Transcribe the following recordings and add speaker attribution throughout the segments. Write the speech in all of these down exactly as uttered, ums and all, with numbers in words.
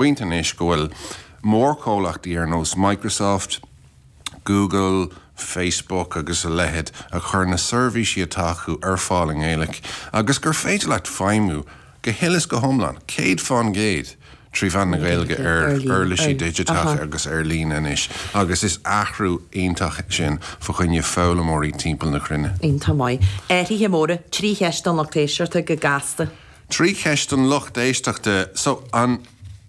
Speaker 1: Pointe anois go bhfuil mórchomhlachtaí ar nós Microsoft, Google, Facebook agus a leithéid a chur na seirbhísí atá acu ar fáil i nGaeilge agus gur féidir leat feidhmiú go huile is go hiomlán, céad faoin gcéad, trí mheán na Gaeilge ar uirlisí digiteacha agus ar líne anois agus is athrú iontach sin fá choinne foghlaimeoirí timpeall na cruinne.
Speaker 2: Iontach maith. Athruithe móra, trí cheist don lucht éisteachta go gasta.
Speaker 1: Trí cheist don lucht éisteachta, so an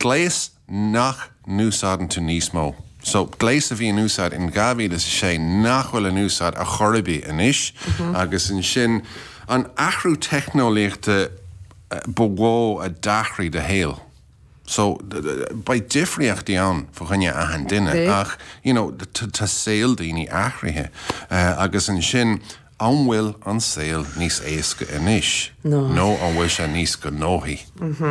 Speaker 1: gléas nach n-úsáideann tú níos mó. So gléas a bhí in úsáid in dhá mhíle is a sé nach bhfuil in úsáid ar chor ar bith anois agus ansin an athrú teicneolaíochta ba mhó a d'athraigh do shaol. So beidh difríochtaí ann fá choinne achan duine ach you know tá saol daoine athraithe agus ansin an bhfuil an saol níos éasca anois nó an bhfuil sé níos gnóthaí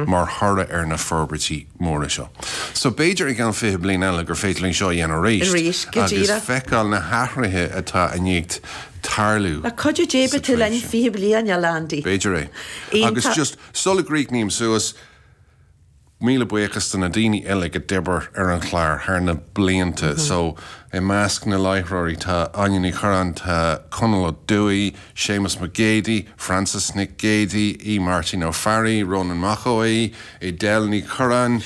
Speaker 1: mar thoradh ar na forbairtí móra seo. So b'fhéidir i gceann fiche bliain eile gur féidir linn seo a dhéanamh arís agus feiceáil na hathruithe atá i ndiaidh tarlú.
Speaker 2: Le cuidiú Dé beidh tú linn fiche bliain eile, Andy.
Speaker 1: B'fhéidir é. Agus just sula gcríochnaím suas, Míle buíochas do na daoine uilig a d'oibir ar an chlár thar na blianta. So, i measc na láithreoirí tá Áine Ní Churráin, tá Conall Ó Dúill, Séamus Mac Géidigh, Frances Nic Géidigh, Aodh Máirtín Ó Fearraigh, Rónán Mac Aodha Bhuí, Edel Ní Churráin,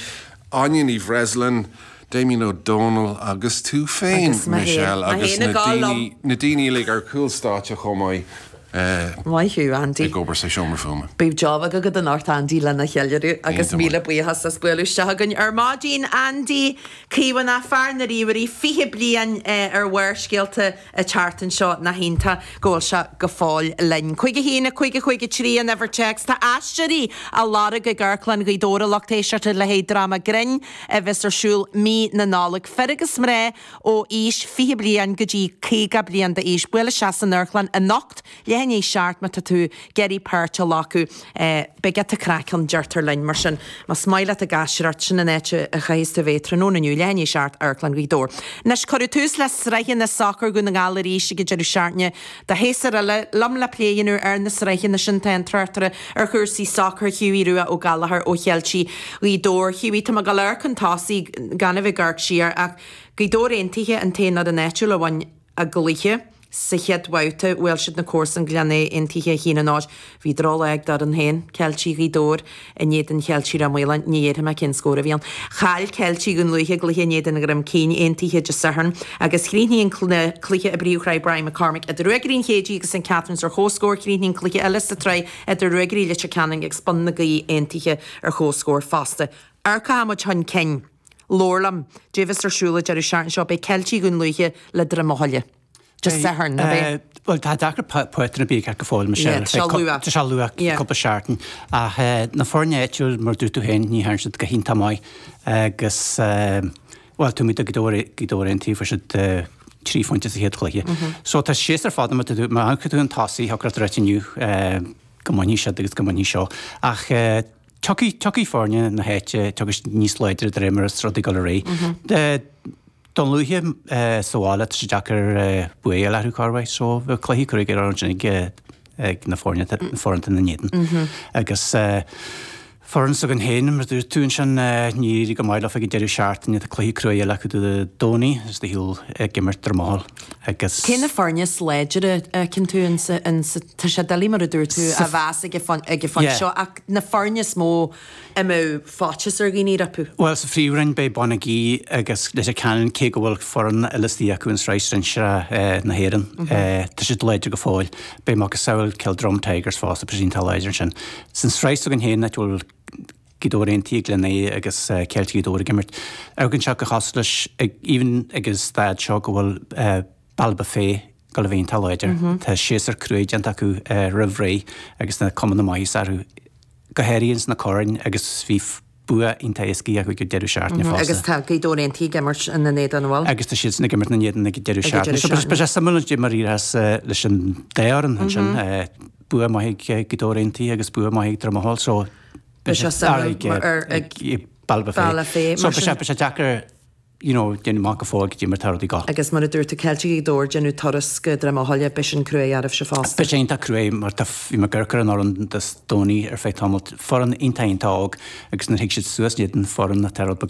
Speaker 1: Áine Ní Bhreisleáin, Damien Ó Dónaill agus tú féin, Michelle, agus na daoine, na daoine uilig ar chúl stáitse chomh maith.
Speaker 2: Maith thú, Andy.
Speaker 1: Ag obair sa seomra fuaime.
Speaker 2: Beidh job agat anocht, Andy, lena cheiliúradh agus míle buíochas as bualadh isteach againn ar maidin. Andy Caomhánach, fear na ríomhairí, fiche bliain ar Bharrscéalta an tseachtain seo, nach iontach go bhfuil sé go fóill linn. Cúig a haon, a cúig, a cúig a trí an uimhir téacs. Tá aisteoirí á lorg ag Amharclann Ghaoth Dobhair, a lucht éisteachta, le haghaidh dráma grinn a bheas ar siúl mí na Nollag. Fir agus mná ó aois fiche bliain go dtí caoga bliain d'aois. Buail isteach san amharclann anocht, leath i ndiaidh a seacht má tá tú ag iarraidh páirt a ghlacadh. Beidh giota craic ann, deirtear linn. Mar sin, más maith leat ag aisteoireacht, sin an áit a chaithfeas tú a bheith tráthnóna inniu, leath i ndiaidh a seacht, Amharclann Ghaoth Dobhair. Anois, cuireadh tús le sraitheanna sacair Dhún na nGall arís ag an deireadh seachtaine do shéasúr eile. Liom le plé a dhéanamh ar na sraitheanna sin tá an tráchtaire ar chúrsaí sacair, Hughie Rua Ó Gallchóir ó Cheiltigh Ghaoth Dobhair. Hughie, tá mé ag dul amharc chun tosaigh gan a bheith ag amharc siar ach Gaoth Dobhair Aontaithe an t-aon fhoireann áitiúil a bhain a gcluiche sa chéad bhabhta. Bhuail siad na comharsain Gleann Fheá Aontaithe a haon a náid. Bhí drochlá ag d'fhoireann féin, Ceiltigh Ghaoth Dobhair, in éadan Cheiltigh Ráth Maoláin. Ní dhéarfaidh mé cén scór a bhí ann. Chaill Ceiltigh Dhún Lúiche a gcluiche in éadan Dhroim Cinn Aontaithe Dé Sathairn agus chríochnaigh an cluiche i bPríomhshraith Brian McCormick idir Ruagairí an Chéidigh agus St Catherine's ar comhscór. Chríochnaigh an cluiche eile sa tsraith idir Ruagairí Leitir Ceanainn agus Bun na Gaoithe Aontaithe ar comhscór fosta. Amharcfaidh muid chun cinn. Labhair liom. Cad é a bheas ar siúl an deireadh seachtaine seo. Beidh Ceiltigh Dhún Lúiche le Droim Eochaille. Dé Sathairn, nach ea?
Speaker 3: Bhuel, tá deacair pátrún ar bith a cheart go fóill, Michelle.
Speaker 2: Tá sé luath.
Speaker 3: Tá sé luath, cúpla seachtain. Ach na foirne áitiúil, mar a dúirt tú féin, ní dhearna siad go hiontach maith. Agus, bhuel, tá muid ag Gaoth Dobhair Aontaithe, fuair siad trí phointe sa chéad chluiche. So tá séasúr fada, má tá tú, má amharcann tú chun tosaigh, thiocfadh leat a ráit inniu go mbainfidh siad agus go mbainfidh seo. Ach tiocfaidh, tiocfaidh foirne na háite, tiocfaidh siad níos láidre de réir mar is rudaí ag dul ar aghaidh. Dún Lúiche sa bhaile, tá sé deacair bua a fháil orthu chóir a bheith. So bheadh cluichí cruaidh ar ansin ag ag na foirne na foireann ina n-éadan. Agus foireann s'againn féin, mar a dúirt tú ansin, níor éirigh go maith leo ag an deireadh seachtaine, tá cluiche cruaidh eile acu Dé Domhnaigh is ar shiúl ag imirt Droim Eochaille. Agus.
Speaker 2: Cé na foirne is láidre a fheiceann tú insa, insa, tá sé doiligh mar a dúirt tú a mheas ag an ag an phointe seo ach na foirne is mó a mbeadh faitíos ar dhaoine rompu?
Speaker 3: Bhuel, sa phríomhroinn beidh Bun na Gaoithe agus Leitir Ceanainn, cé go bhfuil foireann eile istigh acu in Sraith Sinsearach na hÉireann, tá siad láidir go fóill. Beidh macasamhail Kildrum Tigers fosta, beidh siad iontach láidir ansin. San sraith s'againn féin, áit a bhfuil Gaoth Dobhair Aontaithe, Gleann Fheá agus Ceiltigh Ghaoth Dobhair ag imirt, amharcann sé go cosúil leis, even ag an staid seo, go bhfuil Ballybofey ag dul a bheith iontach láidir. Tá séasúr cruaidh déanta acu roimh ré agus na cuma na maitheasa orthu. go háirithe ins na coirn agus bhí bua iontach éasca acu ag an deireadh seachtaine fosta.
Speaker 2: Agus tá Gaoth Dobhair Aontaithe ag imirt ina n-éadan, an bhfuil?
Speaker 3: Agus tá siadsan ag imirt ina n-éadan ag an deireadh seachtaine. So beidh sé suimiúil cad é mar a éireos leis an dá fhoireann ansin. Bua maith ag Gaoth Dobhair Aontaithe agus bua maith ag Droim Eochaille so
Speaker 2: beidh sé suimiúil ar ag
Speaker 3: Ballybofey. So beidh sé deacair you know, déanamh amach go fóill goidé mar tá rudaí ag gabháil.
Speaker 2: Agus mar a dúirt tú Ceiltigh Ghaoth Dobhair déanamh turas go Droim Eochaille b'shin cruaidh oraibhse fosta.
Speaker 3: Beidh sé iontach cruaidh mar tá bhí mé ag amharc ar an fhoireann Dé Domhnaigh ar feadh tamaill foireann iontach iontach óg agus nuair a thig siad suas in éadan foireann atá rud beag